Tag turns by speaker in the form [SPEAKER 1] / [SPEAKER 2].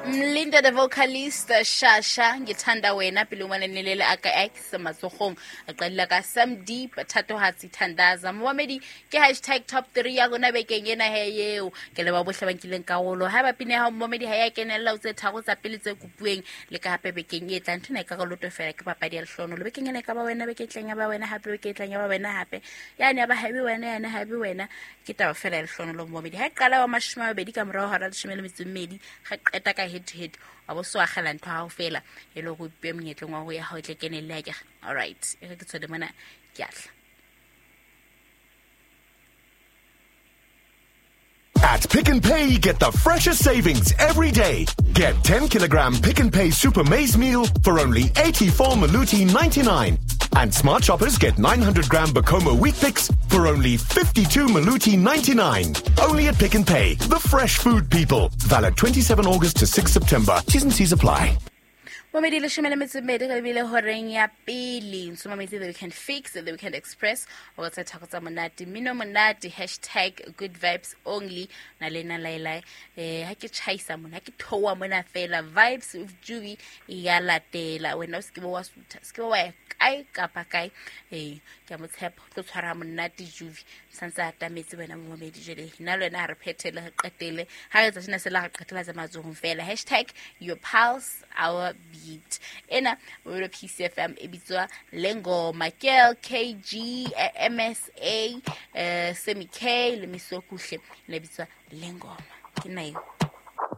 [SPEAKER 1] Mlinda the vocalist Shasha ngithanda wena pele ngwana nelele a ka X matsogong a qadila ka Sam Deep Thatohatsi Thandaza. Momamedi, ke hashtag top 3 ya rona bekeng ena he eo. Ke leba bohle ba nkileng karolo. Ha ba pine ha momamedi ha ya kenella o tse tharo tsa pele tse kopueng le ka hape bekeng e tlang. Nthona e ka loto fela, ke papadi ya lehlono. Le bekeng ena e ka ba wena, beke e tlang ya ba wena hape, beke e tlang ya ba wena hape. Yane ya ba haebe wena, yane haebe wena. Ke taba fela ya lehlono lo momamedi. Ha e qala wa 20 ka morao hora 12, ga qeta ka head to head wa bo so agela ntho gago fela e le go ipe monyetleng wa go ya ga o tle kenelle a kega. All right, e re ke tshwele mona, ke atla.
[SPEAKER 2] At Pick n Pay, get the freshest savings every day. Get 10 kilogram Pick n Pay Super Maize Meal for only 84 Maluti 99. And smart shoppers get 900 gram Bokomo Wheat Picks for only 52 Maluti 99. Only at Pick n Pay, the fresh food people. Valid 27 August to 6 September. T's and C's apply.
[SPEAKER 1] Momedi, 12 re bile horeng ya pele. Nsomametse The Weekend Fix, The Weekend Express, o tsa thako tsa monate, mmino monate, hashtag good vibes only. Na le nna laelae ha ke tjhaisa mona, ha ke theoha mona fela, Vibes with Juby ya latela. Wena o se ke wa sutha, se ke wa ya kae kapa kae. Ke a mo tshepa, o tlo tshwara monate Juby santse a atametse wena momedi. Jwale nna le wena ha re phethele, re qetele ha re etsa sena sela, re qetela tsa matsohong fela. Hashtag your pulse, our beat. Ena o PCFM e bitswa Lengoma ke LKG, MSA, Semi K le Misokuhle, le bitswa Lengoma. Ke nna eo.